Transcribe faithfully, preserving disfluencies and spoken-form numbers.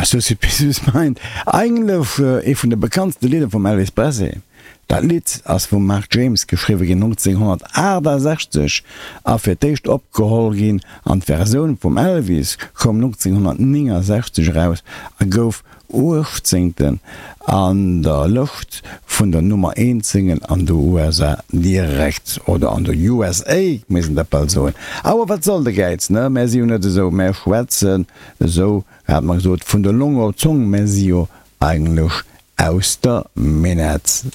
Suspicious Mind, eigentlech ee vun de bekanntste Lidder vum Elvis Presley. Dat Lidd ass vum Mark James geschriwwe ginn nonzénghonnertaachtasechzeg a fir d'éischt opgeholl ginn an d'Versioun vum Elvis koum nonzénghonnertnéngensechzeg eraus a gouf uechtzéngten an der Lëscht vun der Nummer eent Single an de U S A direkt, oder an der U S A misst een dat bal soen. Awer wat soll de Gäiz, ne? Mär si jo net esou, mär schwätzen esou, hat mer gesot, vun der Long op d'Zong, mär si jo eigentlech aus der Minett.